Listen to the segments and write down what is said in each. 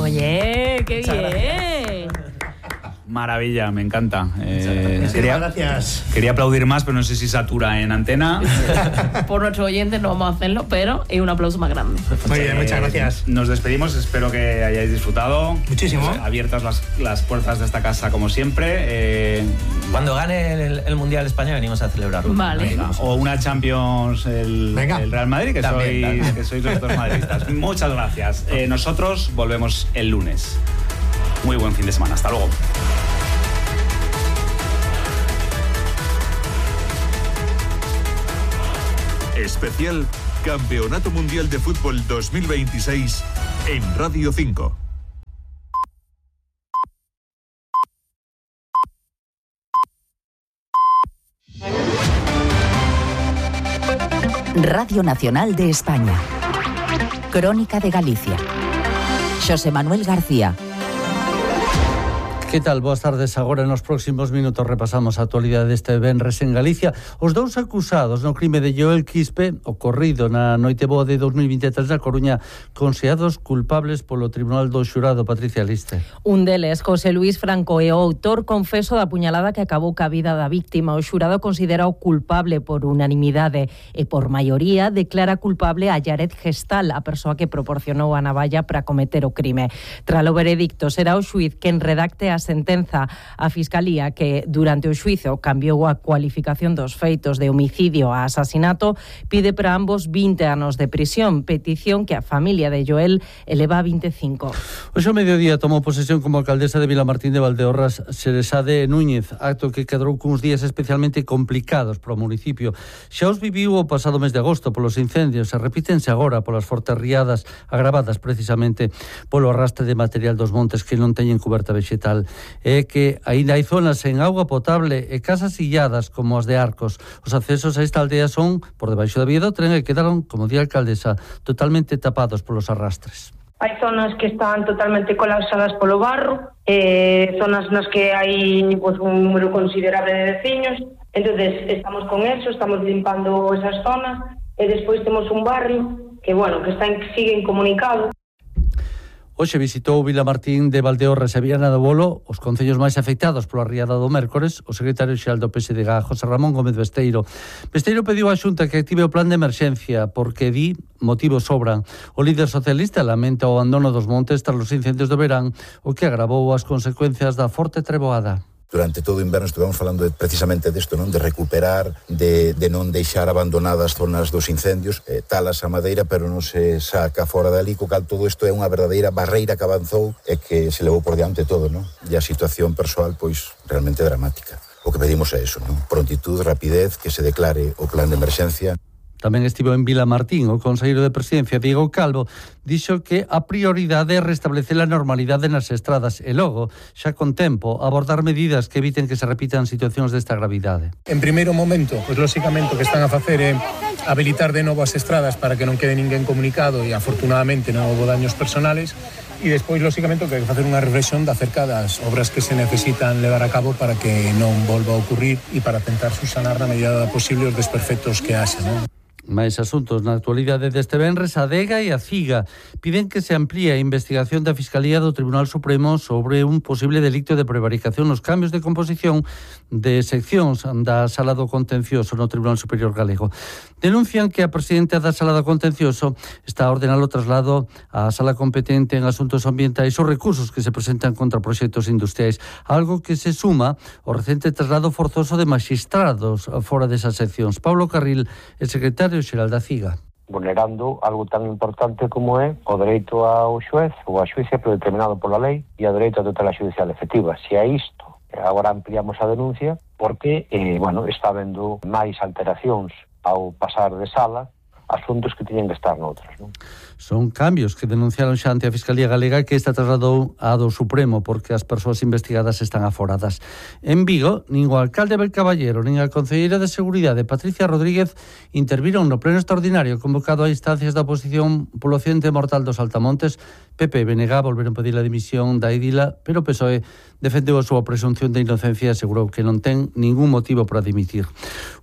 Oye, qué bien. Maravilla, me encanta. Gracias. Quería aplaudir más, pero no sé si satura en antena. Por nuestros oyentes no vamos a hacerlo, pero es un aplauso más grande. Muy bien, muchas gracias. Nos despedimos, espero que hayáis disfrutado. Muchísimo. Abiertas las puertas de esta casa como siempre. Cuando gane el Mundial España venimos a celebrarlo. Vale. O una Champions el Real Madrid, que sois los dos madridistas. Muchas gracias. Nosotros volvemos el lunes. Muy buen fin de semana. Hasta luego. Especial Campeonato Mundial de Fútbol 2026 en Radio 5. Radio Nacional de España. Crónica de Galicia. Xosé Manuel García. Que tal? Boas tardes. Agora nos próximos minutos repasamos a actualidade deste venres en Galicia. Os dous acusados no crime de Joel Quispe, ocorrido na noite boa de 2023 na Coruña, considerados culpables polo Tribunal do Xurado. Patricia Liste. Un deles, José Luis Franco, é o autor confeso da puñalada que acabou ca vida da víctima. O xurado considera o culpable por unanimidade e por maioría declara culpable a Yared Gestal, a persoa que proporcionou a navalla para cometer o crime. Tralo veredicto, será o xuiz quen redacte a sentenza. A Fiscalía, que durante o xuizo cambiou a cualificación dos feitos de homicidio a asasinato, pide para ambos 20 anos de prisión, petición que a familia de Joel eleva a 25. Hoxe ao mediodía tomou posesión como alcaldesa de Vilamartín de Valdeorras Xeresade Núñez, acto que quedou cuns días especialmente complicados para o municipio. Xa os viviu o pasado mes de agosto polos incendios e repítense agora polas fortes riadas agravadas precisamente polo arrastre de material dos montes que non teñen coberta vexetal. É que aínda hai zonas sen auga potable e casas illadas como as de Arcos. Os accesos a esta aldea son por debaixo da vía do tren e quedaron, como di a alcaldesa, totalmente tapados polos arrastres. Hai zonas que están totalmente colapsadas polo barro, zonas nas que hai un número considerable de veciños, entonces estamos con eso, estamos limpando esas zonas e despois temos un barrio que, sigue incomunicado. Hoxe visitou Vilamartín de Valdeorras e Viana do Bolo, os concellos máis afectados pola riada do mércores, o secretario xeral do PSDG, José Ramón Gómez Besteiro. Besteiro pediu á Xunta que active o plan de emerxencia, porque di motivos sobran. O líder socialista lamenta o abandono dos montes tras os incendios do verán, o que agravou as consecuencias da forte treboada. Durante todo o inverno estivemos falando precisamente desto, non? De recuperar, de non deixar abandonadas zonas dos incendios, talas a madeira, pero non se saca fora dali, co cal todo isto é unha verdadeira barreira que avanzou e que se levou por diante todo, non? E a situación persoal, pois, realmente dramática. O que pedimos é eso, non? Prontitud, rapidez, que se declare o plan de emerxencia. Tamén estivo en Vilamartín o conselleiro de Presidencia, Diego Calvo, dixo que a prioridade é restablecer a normalidade nas estradas e logo, xa con tempo, abordar medidas que eviten que se repitan situacións desta gravidade. En primeiro momento, pois lóxicamente o que están a facer é habilitar de novo as estradas para que non quede ninguén comunicado e afortunadamente non houbo daños personales. E despois, lóxicamente, o que hai que facer unha reflexión acerca das obras que se necesitan levar a cabo para que non volva a ocurrir e para tentar subsanar na medida posible os desperfectos que haxa, non? Máis asuntos na actualidade deste venres, a DEGA e a CIGA piden que se amplíe a investigación da Fiscalía do Tribunal Supremo sobre un posible delito de prevaricación nos cambios de composición de seccións da Sala do Contencioso no Tribunal Superior Galego. Denuncian que a presidenta da Sala do Contencioso está a ordenar o traslado á Sala competente en asuntos ambientais os recursos que se presentan contra proxectos industriais, algo que se suma ao recente traslado forzoso de magistrados fora desas seccións. Pablo Carril, el secretario xeral da CIGA. Vulnerando algo tan importante como é o dereito ao xuez ou a xuíza predeterminado pola lei e o dereito a tutela judicial efectiva. Se a isto agora ampliamos a denuncia porque, está habendo máis alteracións ao pasar de sala asuntos que tiñen que estar noutros, non? Son cambios que denunciaron xa ante a Fiscalía Galega que esta trasladou a do Supremo porque as persoas investigadas están aforadas. En Vigo, nin o alcalde Belcaballero nin a concelleira de Seguridade Patricia Rodríguez interviron no pleno extraordinario convocado a instancias da oposición polo accidente mortal dos Altamontes. PP e BNG volveron pedir a dimisión da Idila, pero o PSOE defendeu a súa presunción de inocencia e asegurou que non ten ningún motivo para dimitir.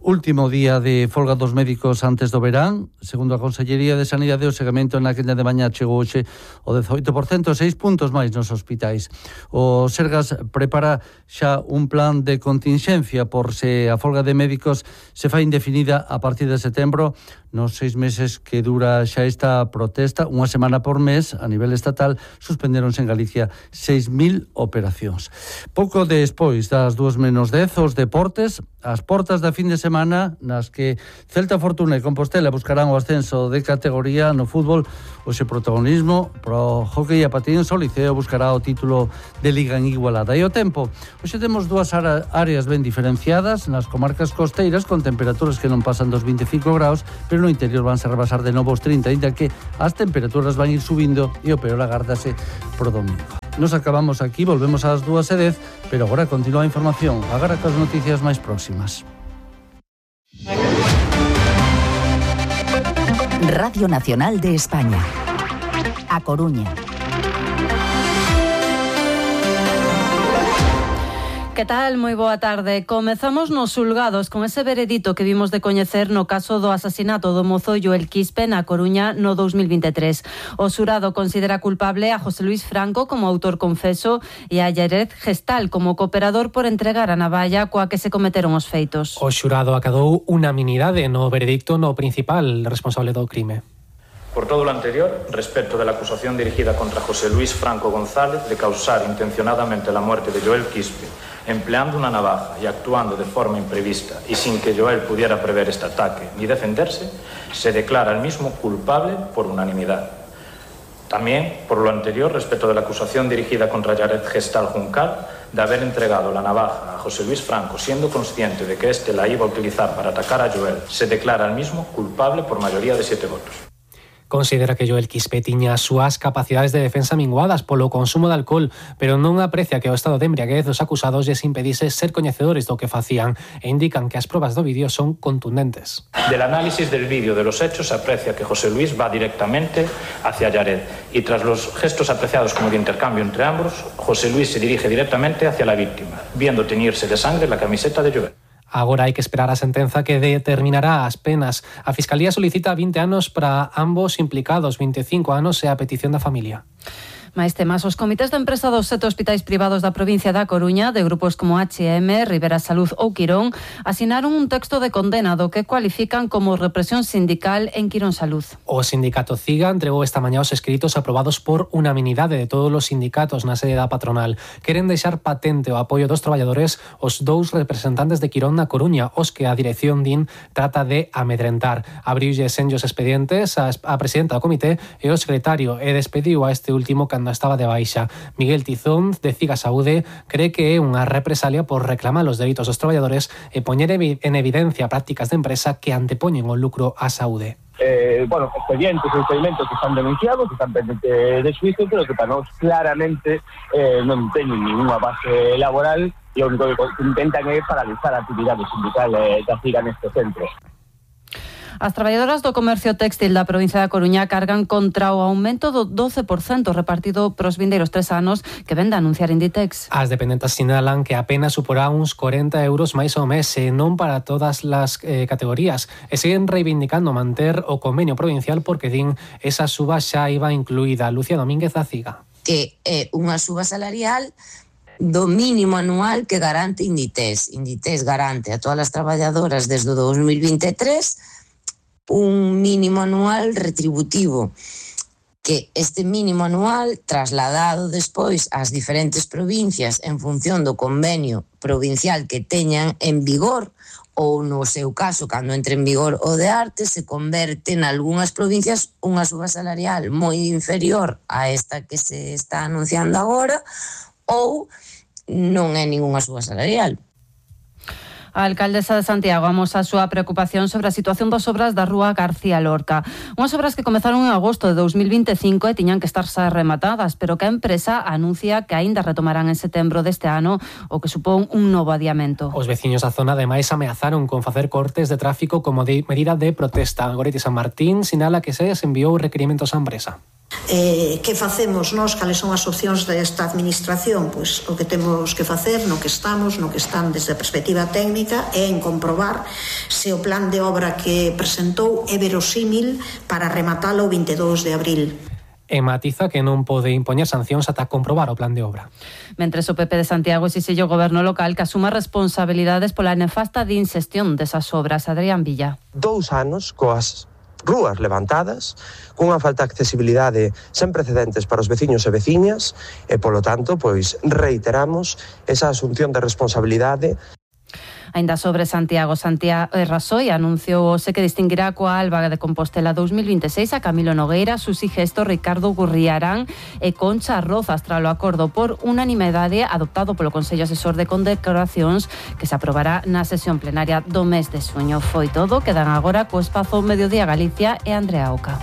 Último día de folga dos médicos antes do verán, Segundo a Consellería de Sanidade, o segamento na quenda de mañá chegou hoxe o 18%, 6 puntos máis nos hospitais. O Sergas prepara xa un plan de continxencia por se a folga de médicos se fai indefinida a partir de setembro, nos 6 meses que dura xa esta protesta, unha semana por mes, a nivel estatal, suspenderonse en Galicia 6.000 operacións. Pouco despois das 2:10, os deportes, as portas da fin de semana, nas que Celta, Fortuna e Compostela buscarán o ascenso de categoría no fútbol, hoxe protagonismo pro hockey a patins, o Liceo buscará o título de Liga en Igualada. E o tempo, hoxe temos dúas áreas ben diferenciadas, nas comarcas costeiras, con temperaturas que non pasan dos 25 graus, pero no interior vanse a rebasar de novo os 30, ainda que as temperaturas van ir subindo e o peor agárdase pro domingo. Nos acabamos aquí, volvemos ás 2:10, pero agora continúa a información, agora cas noticias máis próximas. Radio Nacional de España. A Coruña. Que tal? Moi boa tarde. Comezamos nos xulgados con ese veredito que vimos de coñecer no caso do asasinato do mozo Joel Quispe na Coruña no 2023. O xurado considera culpable a José Luis Franco como autor confeso e a Yared Gestal como cooperador por entregar a navalla coa que se cometeron os feitos. O xurado acadou unanimidade no veredicto no principal responsable do crime. Por todo lo anterior, respecto de la acusación dirigida contra José Luis Franco González de causar intencionadamente la muerte de Joel Quispe, empleando una navaja y actuando de forma imprevista y sin que Joel pudiera prever este ataque ni defenderse, se declara el mismo culpable por unanimidad. También, por lo anterior, respecto de la acusación dirigida contra Yared Gestal Juncal de haber entregado la navaja a José Luis Franco siendo consciente de que éste la iba a utilizar para atacar a Joel, se declara el mismo culpable por mayoría de 7 votos. Considera que Joel Quispe tiña as súas capacidades de defensa minguadas polo consumo de alcohol, pero non aprecia que o estado de embriaguez dos acusados lles impedise ser coñecedores do que facían e indican que as probas do vídeo son contundentes. Del análisis del vídeo de los hechos se aprecia que José Luis va directamente hacia Yared y tras los gestos apreciados como de intercambio entre ambos, José Luis se dirige directamente hacia la víctima, viendo teñirse de sangre la camiseta de Joel. Agora hai que esperar a sentenza que determinará as penas. A Fiscalía solicita 20 anos para ambos implicados, 25 anos é a petición da familia. Mais temas, os comités de empresa dos 7 hospitais privados da provincia da Coruña, de grupos como H&M, Rivera Salud ou Quirón, asinaron un texto de condena do que cualifican como represión sindical en Quirón Salud. O sindicato CIGA entregou esta mañá os escritos aprobados por unanimidade de todos os sindicatos na sede da patronal. Queren deixar patente o apoio dos traballadores os 2 representantes de Quirón na Coruña, os que a dirección DIN trata de amedrentar. Abriulle senllos expedientes a presidenta do comité e o secretario e despediu a este último cando estaba de baixa. Miguel Tizón, de CIGA Saúde, cree que é unha represalia por reclamar os dereitos dos traballadores e poñer en evidencia prácticas de empresa que antepoñen o lucro á saúde. Expedientes e experimentos que están denunciados, que están pendentes de xuicio, pero que para nós claramente non teñen ninguna base laboral e o único que intentan é paralizar a actividade sindical da CIGA neste centro. As traballadoras do comercio téxtil da provincia da Coruña cargan contra o aumento do 12% repartido pros vindeiros 3 anos que ven de anunciar Inditex. As dependentes sinalan que apenas suporá uns 40 euros máis ao mes e non para todas as categorías e siguen reivindicando manter o convenio provincial porque din esa suba xa iba incluída. Lucía Domínguez da CIGA. Que é unha suba salarial do mínimo anual que garante Inditex. Inditex garante a todas as traballadoras desde o 2023 un mínimo anual retributivo, que este mínimo anual trasladado despois ás diferentes provincias en función do convenio provincial que teñan en vigor ou no seu caso, cando entre en vigor o de arte, se converte en algunhas provincias unha suba salarial moi inferior a esta que se está anunciando agora ou non é ningunha suba salarial. A alcaldesa de Santiago amosa a súa preocupación sobre a situación das obras da Rúa García Lorca. Unhas obras que comezaron en agosto de 2025 e tiñan que estar xa rematadas, pero que a empresa anuncia que aínda retomarán en setembro deste ano, o que supón un novo adiamento. Os veciños da zona ademais ameazaron con facer cortes de tráfico como medida de protesta. Goretti San Martín sinala que se enviou requerimentos á empresa. Que facemos nós, cales son as opcións desta administración? Pois o que temos que facer, no que están desde a perspectiva técnica, é en comprobar se o plan de obra que presentou é verosímil para rematalo o 22 de abril. E matiza que non pode impoñer sancións ata comprobar o plan de obra. Mentres o PP de Santiago exixe ao goberno local que asuma responsabilidades pola nefasta inxestión desas obras. Adrián Villa. 2 anos coas rúas levantadas, cunha falta de accesibilidade sen precedentes para os veciños e veciñas e, polo tanto, pois reiteramos esa asunción de responsabilidade. Ainda sobre Santiago, Rajoy anunciou que distinguirá coa Alba de Compostela 2026 a Camilo Nogueira, Susi Gesto, Ricardo Gurriarán e Concha Rozas tras o acordo por unanimidade adoptado polo Consello Asesor de Condecoracións que se aprobará na sesión plenaria do mes de xuño. Foi todo, quedan agora co espazo Mediodía Galicia e Andrea Oca.